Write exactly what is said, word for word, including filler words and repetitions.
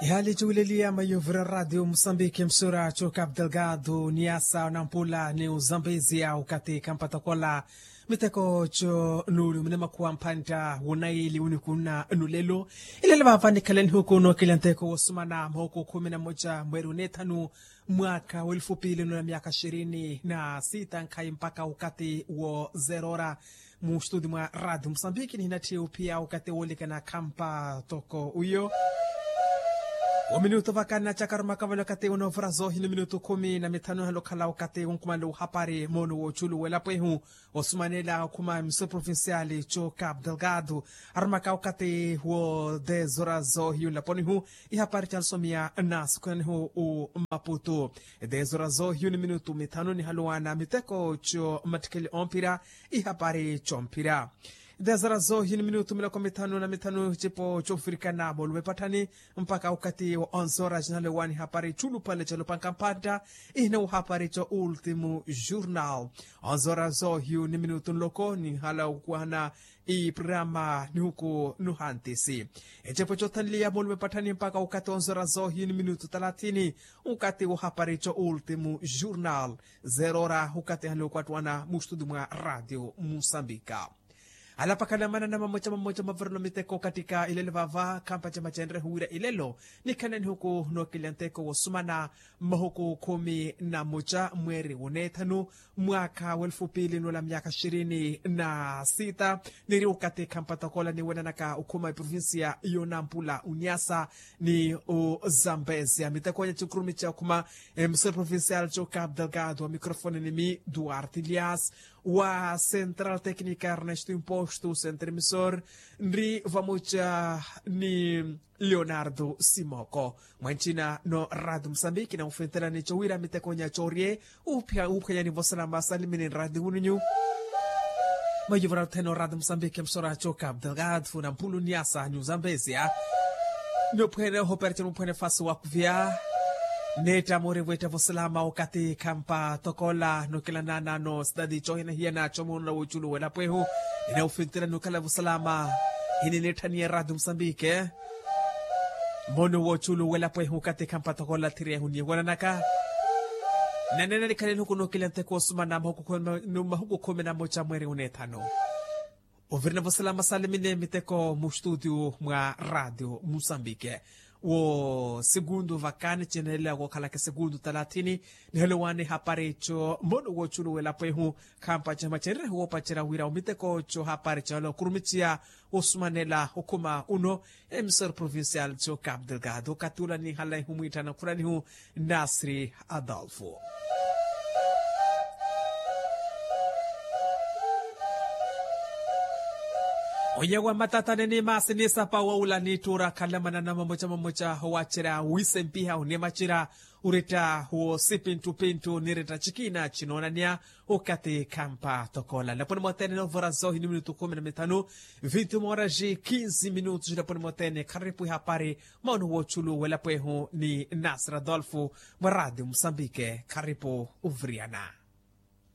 Ihaali cuwileliya maiyuvura ratio musambiki msura cu cap delgado niasa nampula ni uzambezia ukati kampatokola miteko cu nuuli mune makhuwa mpantta wunaili wunikunna nulelo. Ilelo vava nikhalanihuku nookilya nteko wosumana mahuku khumi na moja mweri unethanu mwaka wa elfu pili nula myaka ishirini na sita nkhayi mpaka ukati wo zerora. Mu studio mwa radio musambiki nihinatthi uphiya ukati woolikana khampa toko uyo. Ominutu vakana cakarumakavale ukati unoovura zoohini minutu khumi na mithanu ehalo okhala ukati wunkumanle uhapari moono wooculu welapo ehu osumanela okhuma miso provincial co cap delgado. Arumaka ukati wo dez horas zoohiyu nlaponihu ihapari calusomiya na sukhunanihu u maputu. Dez horas zoohiyu ni minutu mithanu nihaluwana miteko co mmattikheli omphira ihapari comphira. Dez horas zoohiyu ni minutu miloko mithanu na mithanu cipo cofirikana moolume patthani mpaka ukati wa onze horas nihalowa nihapari culuphale calopanka mphantta. Ihina uhapari co ultimu jornal. Onze horas zoohiyu ni minutu nloko nihala okuwana iprograma nihuku nuhantisi. Ecepo cothanliya moolume patthani mpaka ukati wa onze horas zoohiyu ni minutu talathini ukati wohapari co ultimu jornal. Zerora ukati hali okwattuwana mu studio mwa radio musambika. Alapakhala manana mamoca mamoca mavirelo miteko katika ilelo vava khampa camacenrehu wira ilelo nikhalanihuku nookilya nteko wosumana mmahuku khumi na moca mweeri wunethanu mwaka wa elfu pili nula myaka ishirini na sita. Niri ukati khampa tokola niwenanaka okhuma eprovincia yonampula uniasa ni uzambezia miteko nya cinkurumi ca okhuma emisoro provincial co cap delgado wa microfone ni mi duarte lias wa central tecnica ernesto imposto centre emisor nri vamoca ni leonardo simoko. Mwancina no radio musambiki na ufintelani cowira miteko nya corie uphenya ni vosalama salimini radio wununyu. Mayuvura theno radio musambiki msora co cap delgado na mpulu niasa ni uzambezia. Nophwene ohopera cino muphwene fasi wakuvia netta mori vwetta vosalama okati khampa tokola nokilanana no sidadi cohina hiyana comonola woculu welapo ehu. Ina ufintira nukhala vosalama hini netthaniya radio musambike. Mono woculu welapo ehu okati khampa tokola thiri ehu niwananaka. Nanena nikhale nuku nokila nteko osumana mahuku khumi na moca mweri unethanu. Ovirina vosalama salimine miteko mu studio mwa radio musambike. Wo segundu vakani cinelela wokhalaka segundu talathini. Nihelo wani hapari co mono woculu welapo ehu khampa camacenrehu wopacerya wira omiteko co hapari calo okurumiciya wosumanela okhuma uno. Emisor provincial co cap delgado okati ula nihala ihumwitthana khulanihu nasri adolfo. Onyewa matatane ni masi ni sapa wawula ni ttura khalamana na mamoca mamoca owacerya wisempiha onimacira uretta wo sipinttupinttu niretta cikina cinoonaniya. Okati khampa tokola laponi motene novora zohi ni minutu khumi na mithanu. Vinti moras e kinsi minutu laponi motene kharipwi hapari. Maono wochulu welapo ehu ni nasir adolfo mwa radio musambike kharipu uviriyana.